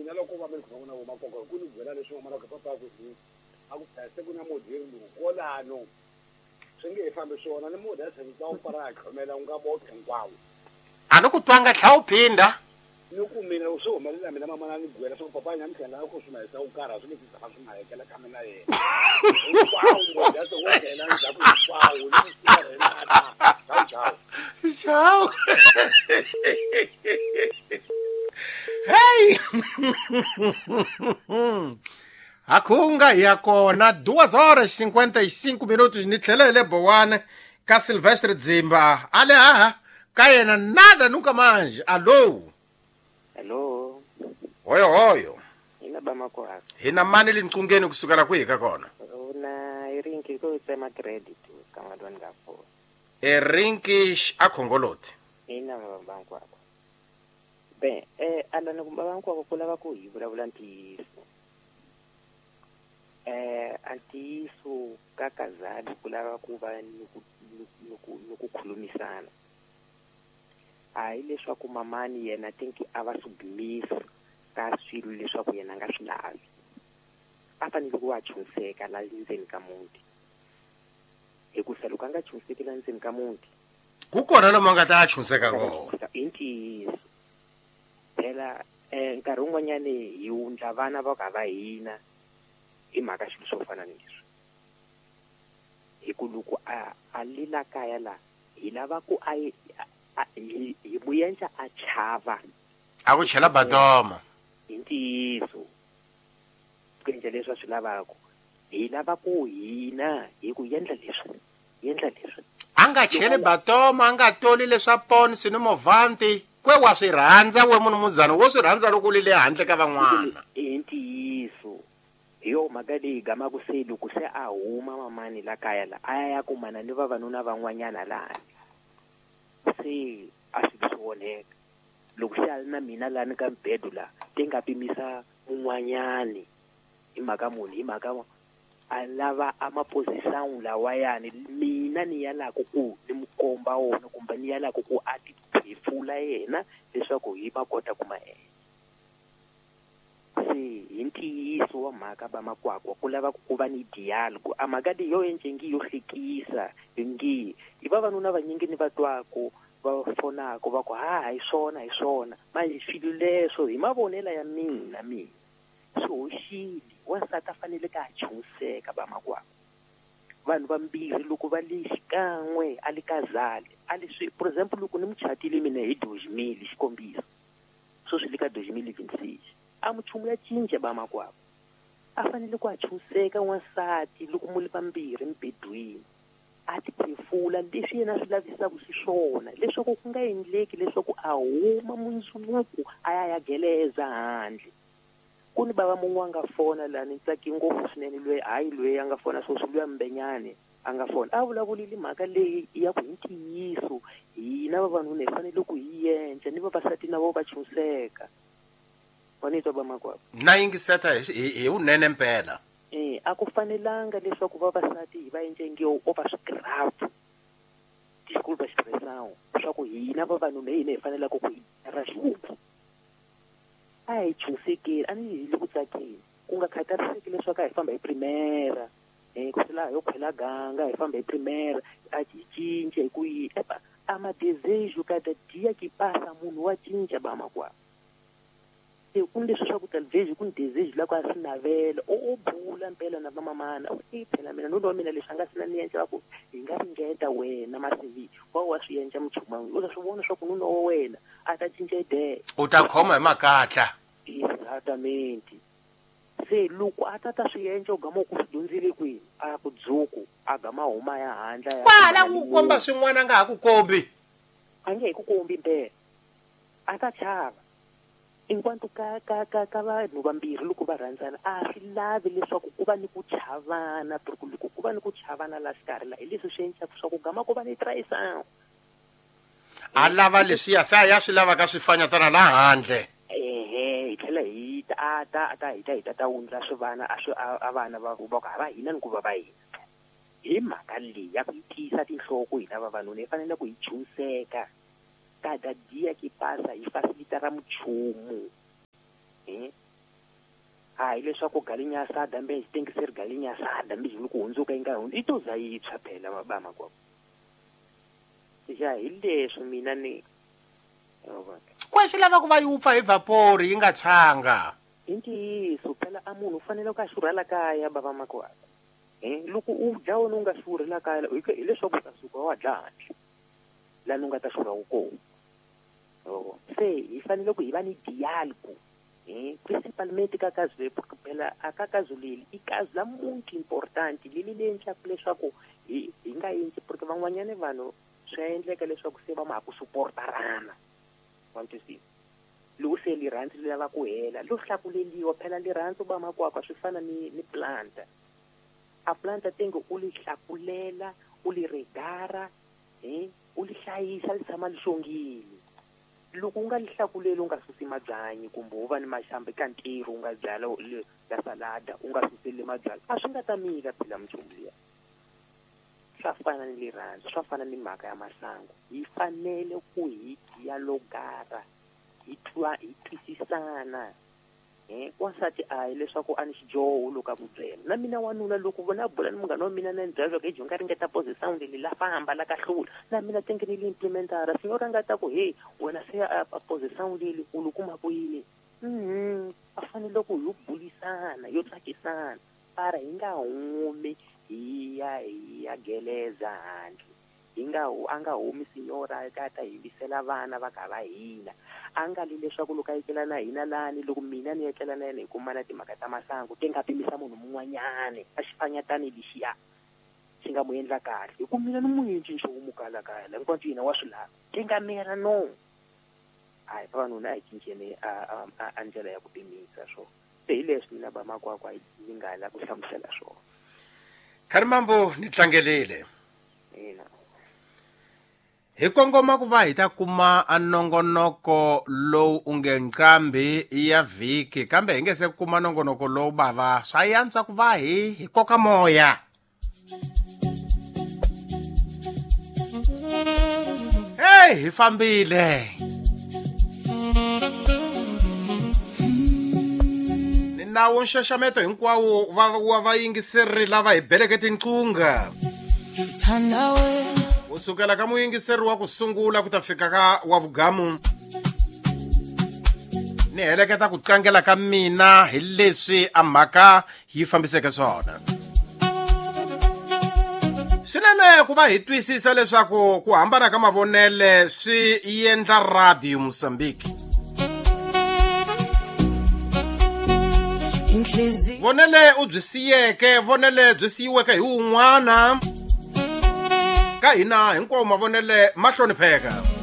Mina loko va mi khoma na voma ku ni byela leswi n'wana ka papa ku hi a ku se ku na modiri lowu kolano swi nge he fambi swona ni modi ya tshembisa wu fara a tlhomela wu nga boxe hinkwawo a ni ku twanga tlha wu phinda ni ku mina swi humelela mina mamana ni byela swa ku papa nyamutlha la ku swi mahisa wu karha swi nge si tshama swi mahekela ka mina yena hinkwawo modi ya se wo nghena ndzhaku hinkwawo ni ku renata ciao ciao hey hakhunga hi ya kona 2 horas 55 minutos ni tlhela hi le bowane ka Silvestre Dzimba ale haha ka yena nada nunca manje. Allo? Hello. Hoyo hoyo. Ina bamakwako. Hi na mani linqungeni kusukela kwihi ka kona? Una irinki ko tsema credit ka ngadwani ka fona. Erinki a khongoloti. Ina babankwako. Ben, alana ku babankwako ku lava ku hi vulavula ntiyiso. Ntiyiso ka kazali ku lava ku va ni ku khulumisana. Hayi leswaku mamani yena tinki a va submiss ka swilo leswaku yena a nga swi lavi. A fanele ku va chunseka la ndzeni ka muti. Hikusa loko a nga chunseki la ndzeni ka muti, ku kona lomu a nga ta chunseka kona. I ntiyiso. Phela nkarhi wun'wanyani hi wundla vana va ka va hina hi mhaka swilo swo fana ni leswi. Hi ku loko a lila kaya la hi lava ku a hi muyenca a chava. A ku chela badoma. Hi ntiyiso. Ku endla leswi a swi lavaka. Hi lava ku hina hi ku endla leswi. Endla leswi. A nga cheli batoma, a nga toli leswa ponsi ni movanti. Kwe wa swi rhandza we munhu muzana, wo swi rhandza loko u le handle ka van'wana. I ntiyiso. Hi yo mhaka leyi gamaka se loko se a huma mamani la kaya la, a ya kumana ni vavanuna van'wanyana lani. Se a swi swi onheka. Loko se a ri na mina lani ka mbedo la, te nga pimisa un'wanyani hi mhaka munhu, hi mhaka a lava a maposition lawayani mina ni yalaka ku ni mu komba wona kumbe ni yalaka ku a ti phefula yena leswaku hi ma kota ku ma endla. Se hi ntiyiso wa mhaka va makwakwa ku lava ku va ni dialogue. A mhaka leyi yo endle yo hlekisa ngi i vavanuna vanyingi ni va twaku va fonaka va ku ha hi swona hi swona. Manje swilo leswo hi mavonelo ya mina swi hoxile. Wansati a fanele ka a chunseka va makwakwa. Vanhu vambirhi loko va le xikan'we a le kazali a le swi, for example loko ni muchatile mina hi 2000 xikombiso sweswi le ka 2026 a muchumu ya cinca va makwakwa. A fanele ku a chunseka wansati loko mu le vambirhi mbedweni a ti phefula leswi yena swi lavisaka xiswona leswaku ku nga endleki leswaku a huma mundzuku a ya ya geleza handle. Ku ni bava mun'we a nga fona la ni tsaki ngopfu swinene loyi hayi loyi a nga fona sweswi luya Mbenyane a nga fona a vulavulile mhaka leyi ya ku hi ntiyiso hina vavanuna hi fanele ku hi endla ni vavasati na vo va chunseka. Wa ni twa va makwavo? Na yingiseta hi vunene mpela. A ku fanelanga leswaku vavasati hi va endle nge o va swigraph disculpa expressão swa ku hina vavanuna hi hina hi fanelaka ku hi ra xivumbu. A hi chunsekeli a ni hi le ku tsakeni ku nga khathariseki leswaku a hi famba hi primera ku sela yo khwela ganga hi famba hi primera a hi cinca hi ku yi a madesejo cada dia que passa munhu wa cinca ba makwavo. Ku ni leswi swa ku talvez ku ni desejo la ku a swi navela o bula mpela na vamamana i phela mina nuna wa mina leswi a nga swi na ni endla ku hi nga ringeta wena masivi wa swi endla muchuma u ta swi vona swa ku nuna wa wena a ta cinca idea u ta khoma hi makatla. Exactamente. Se loko a ta ta swi endla u gama ku swi dyondzile kwini a ku dzuku a gama huma ya handla ya kwala ku komba swin'wana a nga ha ku kombi a nge he ku kombi mpela a ta chava. Enquanto ka ka ka ka vanhu vambirhi loko va rhandzana a swi lavi leswaku ku va ni ku chavana porque loko ku va ni ku chavana la xikarhi la hi leswi swi endlaka swa ku gama ku va ni traição. A lava leswiya se a ya swi lavaka swi fanyatana la handle. Ehe hi tlhela hi ta ta ta hi ta hi ta ta wundla swivana a swi a vana va ku va va hina ni ku va va hina. Hi mhaka leyi ya ku yi tiyisa tinhloko hina vavanuna hi fanele ku hi chunseka. Cada dia que passa hi facilita ra muchumu. A hi leswaku galinha asada mbe xitengiseri galinha asada mbe xi ku hundzuka yi nga hundzi i to za yi tshwa phela ba makwavo. Ya hi leswi mina ni kwa swi lava ku va yi wupfa hi vapor yi nga tshwanga. I ntiyiso phela a munhu u fanele ku a xurha la kaya bava makwavo. Loko u dya wena u nga xurhi la kaya hileswaku u ta suka wa dya handle laha u nga ta xurha kona. Se hi fanele ku hi va ni dialogue principalmente ka kazi leyi phela a ka kazi leli i kazi la muito important leli le endlaka leswaku hi nga endli porque van'wanyana vanhu swi endleka leswaku se va ma ha ku supportarana. Want to see loko se rirhandzu ri lava ku hela lo hlakuleliwa phela rirhandzu ba makwakwa swi fana ni planta. A planta tenge u li hlakulela u li regara u li hlayisa li tshama li xongile. Loko u nga li hlakuleli u nga susi mabyanyi kumbe u va ni maxamba eka ntirho u nga byala la salada u nga suseli mabyala a swi nga ta mila phela minchumu liya. Swa fana ni rirhandzu swa fana ni mhaka ya masangu. Hi fanele ku hi dialogara hi twa hi twisisana. Wansati a hi leswaku a ni xidyoho loko a ku byela na mina wanuna loko vona bula ni munghana wa mina na ni byela leswaku ejo nga ringeta pose sound leyi la famba la ka hlula na mina tenge ni li implementara signora nga ta ku hey wena se a pose sound leyi u lu kuma ku yini. A fanele ku yo bulisana yo tsakisana para hi nga humi hi ya geleza handle. Hi nga a nga humi signora ka ta himbisela vana va ka va hina. A nga li leswaku loko a etlela na hina lani loko mina ni etlela na yena hi kumana timhaka ta masangu te nga pimisa munhu mun'wanyani a xifanyatani lexiya xi nga mu endla kahle hi ku mina ni mu endli nchumu kala kaya la hinkwato yena wa swi lava te nga mera no. Hayi vavanuna a hi cinceni a ndlela ya ku pimisa swona. Se hi leswi mina ba makwakwa ni nga la ku hlamusela swona. Kharimambo ni tlangelile. Ina. Hi kongoma ku va hi ta kuma a nongonoko lowu u nge nqambi ya vhiki kambe hi nge se kuma nongonoko lowu bava swa yantswa ku va hi koka moya. Hey hi fambile. Ni nawu nxaxameto hinkwawo wa vayingiseri lava hi beleke tinqunga. Kusukela ka muyingiseri wa ku sungula ku ta fika ka wa vugamu. Ni heleketa ku tlangela ka mina hi leswi a mhaka yi fambiseke swona. Swinene ku va hi twisisa leswaku ku hambana ka mavonele swi endla Radio Mozambique. Vonele u byi siyeke, vonele byi siyiweke hi wun'wana. Ka hina hinkwawo mavonele ma hlonipheka.